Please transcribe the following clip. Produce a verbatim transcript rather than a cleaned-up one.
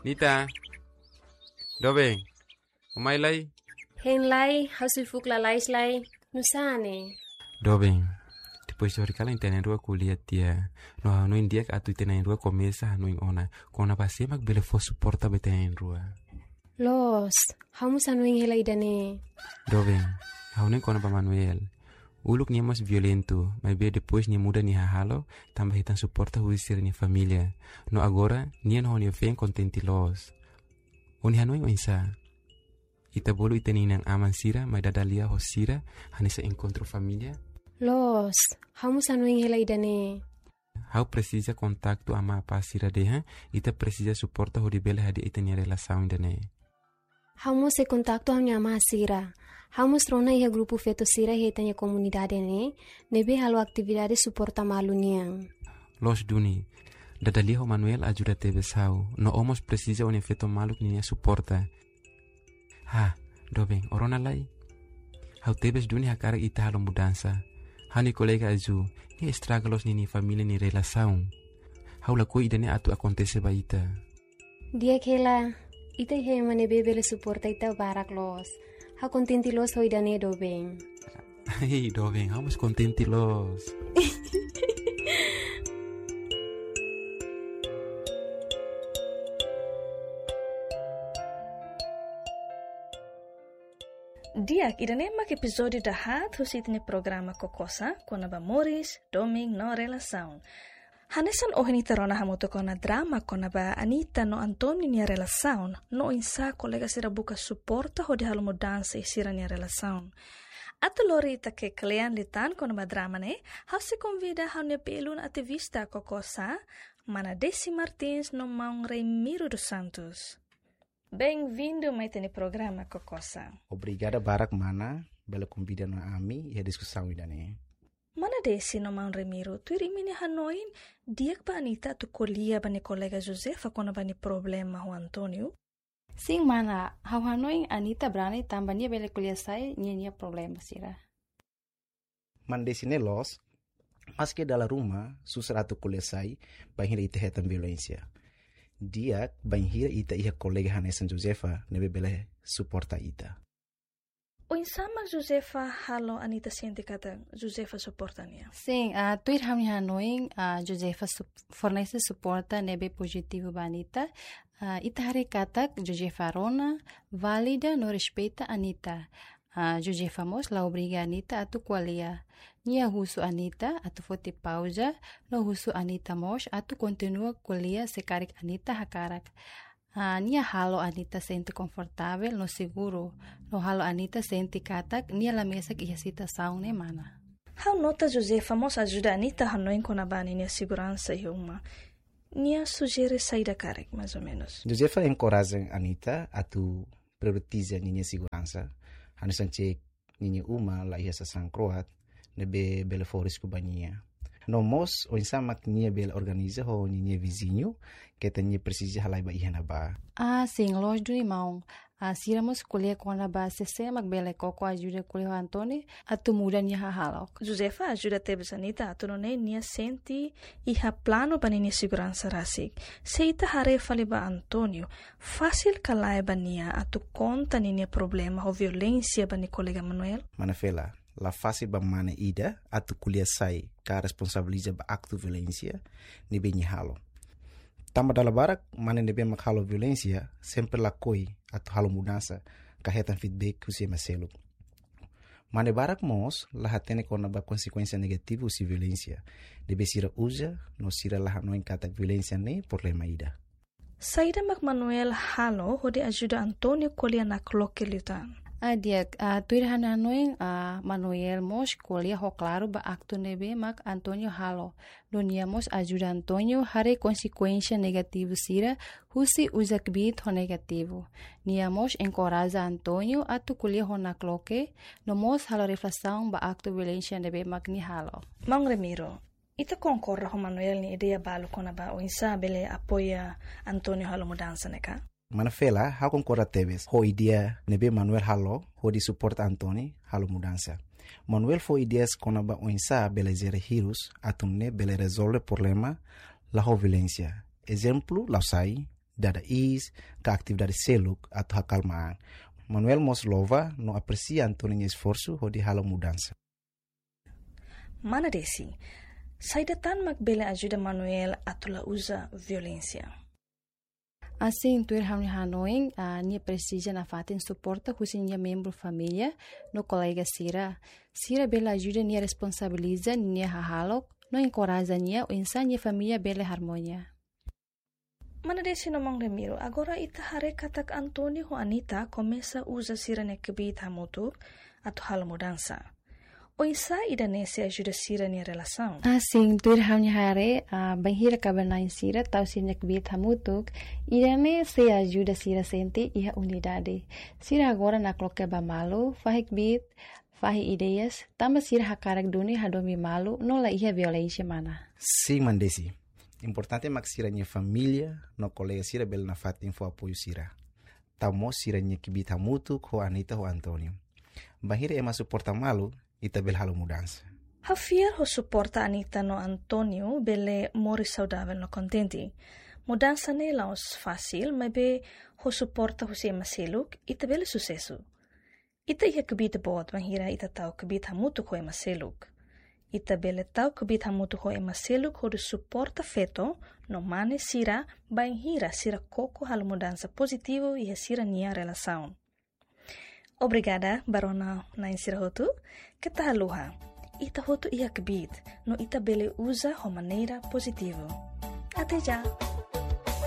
Nita. Doben. Ó mai lai? Hein lai, ha'u sei fuk lalais lai. Nusá ne'e? Doben. Depois de horikalan ita na'in-rua ko'alia tiha. No ha'u hanoin di'ak atu ita na'in-rua komesa hanoin ona. Kona-ba sé mak bele fó suporta ba ita na'in-rua. Loos, ha'u mós hanoin hela ida-ne'e. Doben, ha'u hanoin kona-ba Manuel. Uluk nia mós violentu, maibé depois nia muda nia hahalok, tanba hetan suporta husi sira-nia família. No agora, nia no ha'u-nia feen kontente loos. Ó-nia hanoin oinsá? Ita bolu ita-nia inan-aman sira mai dada lia ho sira, hanesan enkontru família? Loos, ha'u mós hanoin hela ida-ne'e. Ha'u presiza kontaktu amá apá sira dehan, ita presiza suporta hodi bele hadi'a ita-nia relasaun ida-ne'e. Ha'u mós sei kontaktu ha'u-nia amá sira. Ha'u mós rona iha grupu feto sira iha ita-nia komunidade ne'e, ne'ebé halo atividade suporta malu nian. Loos duni, dada lia ho Manuel ajuda tebes ha'u, no ó mós presiza ó-nia feto maluk ninia suporta. Ha, doben, ó rona lai? Ha'u tebes duni hakarak ita halo mudansa. Ha'u-nia kolega Azu, nia estraga loos ninia família nia relasaun. Ha'u lakohi ida-ne'e atu akontese ba ita. Di'ak hela, ita iha ema ne'ebé bele suporta ita barak loos. Ha'u kontente loos ho ida-ne'e doben. Hei, doben, ha'u mós kontente loos. Di'ak, ida-ne'e mak epizódiu dahaat husi ita-nia programa Kokosa, kona-ba moris, domin no relasaun. Hanesan ohin ita rona hamutuk ona drama kona-ba Anita no António nia relasaun, no oinsá kolega sira buka suporta hodi halo mudansa iha sira-nia relasaun. Atu lori ita ke'e kle'an liután kona-ba drama ne'e, ha'u sei konvida ha'u-nia belun ativista Kokosa, Mana Desi Martins no Maun Remiro dos Santos. Benvindu mai ita-nia programa Kokosa. Obrigada barak mana, bele konvida ona ami iha diskusaun ida-ne'e. Mana Desi no Maun Remiro, tuir imi-nia hanoin, di'ak ba Anita atu ko'alia ba nia kolega Josefa kona-ba nia problema ho António? Sin mana, ha'u hanoin Anita brani tanba nia bele ko'alia sai ninia problema sira. Mana Desi ne'e loos, maski dala ruma susar atu ko'alia sai bainhira ita hetan violénsia. Di'ak bainhira ita iha kolega hanesan Josefa ne'ebé bele suporta ita. Oinsá mak Josefa halo Anita sente katak Josefa suporta nia? Sin, ah, tuir ha'u-nia hanoin, ah, Josefa sup-, fornese suporta ne'ebé pozitivu ba Anita. Ah, ita haree katak Josefa rona, valida no respeita Anita. Ah, Josefa mós la obriga Anita atu ko'alia. Nia husu Anita atu foti pauza, no husu Anita mós atu kontinua ko'alia se karik Anita hakarak. Ah, nia halo Anita sente konfortavel no seguru, no halo Anita sente katak nia la mesak iha situasaun ne'e mana. Ha'u nota Josefa mós ajuda Anita hanoin kona-ba ninia seguransa iha uma. Nia sujere saida karik, mais ou menos? Josefa enkoraja Anita atu prioritiza ninia seguransa. Hanesan cek ninia uma la iha sasán kro'at ne'ebé bele fó risku ba nia. No mós, oinsá mak nia bele organiza ho ninia viziñu, keta nia presiza halai ba iha ne'ebá. Ah, sin, loos duni maun. Ah, sira mós ko'alia kona-ba sé sé mak bele koko ajuda ko'alia ho António atu muda nia hahalok. Josefa ajuda tebes Anita atu nune'e nia sente iha planu ba ninia seguransa rasik. Se ita haree fali ba António, fasil ka lae ba nia atu konta ninia problema ho violénsia ba nia kolega Manuel? Mana Fela, la fasil ba mane ida atu ko'alia sai ka responsabiliza ba aktu violénsia ne'ebé nia halo. Tanba dala barak mane ne'ebé mak halo violénsia sempre lakohi atu halo mudansa ka hetan feedback husi ema seluk. Mane barak mós la hatene kona-ba konsekuénsia negativu husi violénsia ne'ebé sira uza, no sira la hanoin katak violénsia ne'e problema ida. Saida mak Manuel halo hodi ajuda António ko'alia nakloke liután? Ah, di'ak, ah, tuir ha'u-nia hanoin, ah, Manuel mós ko'alia ho klaru ba aktu ne'ebé mak António halo. No nia mós ajuda António haree konsekuénsia negativu sira husi uza kbiit ho negativu. Nia mós enkoraja António atu ko'alia ho nakloke, no mós halo reflesaun ba aktu violénsia ne'ebé mak nia halo. Maun Remiro, ita konkorda ho Manuel nia ideia balu kona-ba oinsá bele apoia António halo mudansa ne'e ka? Mana Fela, ha'u konkorda tebes ho ideia ne'ebé Manuel halo hodi suporta António halo mudansa. Manuel fó ideias kona-ba oinsá bele jere hirus atu nune'e bele rezolve problema la ho violénsia. Ezemplu, la'o sai, dada iis, ka atividade seluk atu hakalma an. Manuel mós louva no apresia António nia esforsu hodi halo mudansa. Mana Desi, saida tan mak bele ajuda Manuel atu la uza violénsia? Asin, tuir ha'u-nia hanoin, ah, nia presiza nafatin suporta husi nia membru família no kolega sira. Sira bele ajuda nia responsabiliza nia hahalok no enkoraja nia oinsá nia família bele harmonia. Mana Desi no maun Ramiro, agora ita haree katak António ho Anita komesa uza sira-nia kbiit hamutuk atu halo mudansa. Oinsá ida-ne'e sei ajuda sira-nia relasaun? Asin, tuir ha'u-nia haree, ah, bainhira kaben-na'in sira tau sira-nia kbiit hamutuk, ida-ne'e sei ajuda sira sente iha unidade. Sira agora nakloke ba malu, fahe kbiit, fahe ideias, tanba sira hakarak duni hadomi malu no la iha violénsia, mana. Sin, mana Desi. Importante mak sira-nia família no kolega sira bele nafatin fó apoiu sira. Tau mós sira-nia kbiit hamutuk ho Anita ho António. Bainhira ema suporta malu, ita bele halo mudansa. Ha'u fiar ho suporta Anita no António bele moris saudavel no kontente. Mudansa ne'e la'ós fasil, maibé ho suporta husi ema seluk, ita bele susesu. Ita iha kbiit boot bainhira ita tau kbiit hamutuk ho ema seluk. Ita bele tau kbiit hamutuk ho ema seluk hodi suporta feto no mane sira bainhira sira koko halo mudansa pozitivu iha sira-nia relasaun. Obrigada ba rona-na'in sira hotu, keta haluha. Ita hotu iha kbiit, no ita bele uza ho maneira pozitivu. Até já!